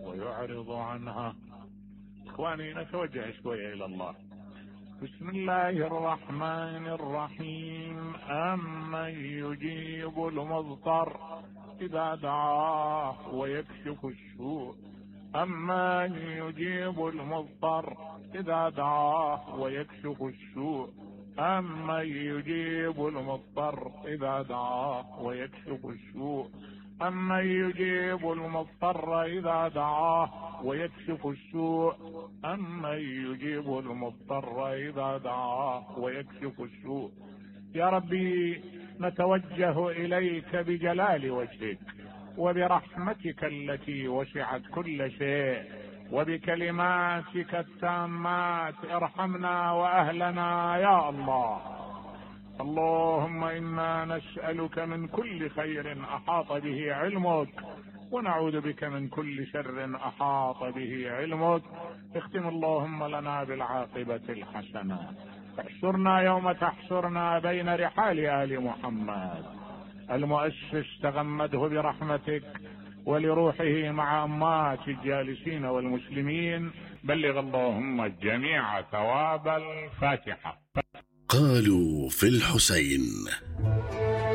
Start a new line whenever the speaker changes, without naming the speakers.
ويعرض عنها. إخواني نتوجه شوية إلى الله. بسم الله الرحمن الرحيم. أمن يجيب المضطر إذا دعاه ويكشف السوء. أمن يجيب المضطر إذا دعاه ويكشف السوء. أمن يجيب المضطر إذا دعاه ويكشف السوء. أمن يجيب المضطر إذا دعاه ويكشف السوء. أمن يجيب المضطر إذا دعاه ويكشف السوء. يا ربي نتوجه إليك بجلال وجهك وبرحمتك التي وسعت كل شيء وبكلماتك التامات. ارحمنا وأهلنا يا الله. اللهم إنا نسألك من كل خير أحاط به علمك ونعوذ بك من كل شر أحاط به علمك. اختم اللهم لنا بالعاقبة الحسنة. احشرنا يوم تحشرنا بين رحال آل محمد. المؤسس تغمده برحمتك ولروحه مع أمات الجالسين والمسلمين. بلغ اللهم الجميع ثواب الفاتحة.
قالوا في الحسين